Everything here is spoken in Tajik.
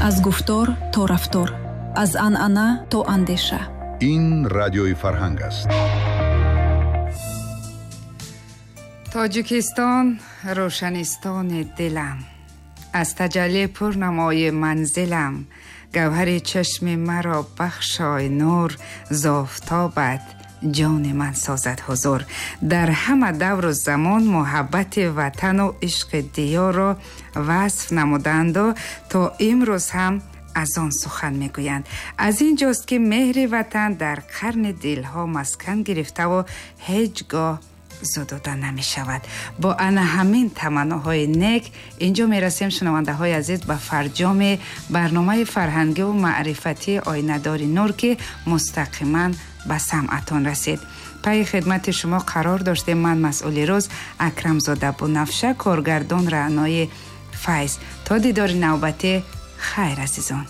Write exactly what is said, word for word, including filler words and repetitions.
Аз гуфтор то рафтор, аз анъана то андеша. Ин радиои Фарҳанг аст. Тоҷикистон рӯшанистони дилам, аз таҷаллӣ пур намои манзилам, гавҳари чашми маро бахшой нур, зофтобат ҷони ман созад ҳузур. Дар ҳама давру замон муҳаббати ватану ишқи диёрро васф намуданду то имрӯз ҳам аз он сухан мегӯянд. Аз ин ҷост, ки меҳри ватан дар қарни дилҳо маскан гирифтаву ҳеҷ гоҳ зудуда намешавад. Бо ана ҳамин таманноҳои нек инҷо мерасем, шунавандаҳои азиз, ба фарҷоми барномаи фарҳангиву маърифатии Оинадори нур, ки мустақиман ба самъатон расид. Пайи хидмати шумо қарор доштем ман, масъули рӯз Акрамзода Бунафша, коргардон Раънои Файз. То дидори навбатӣ, хайр, азизон.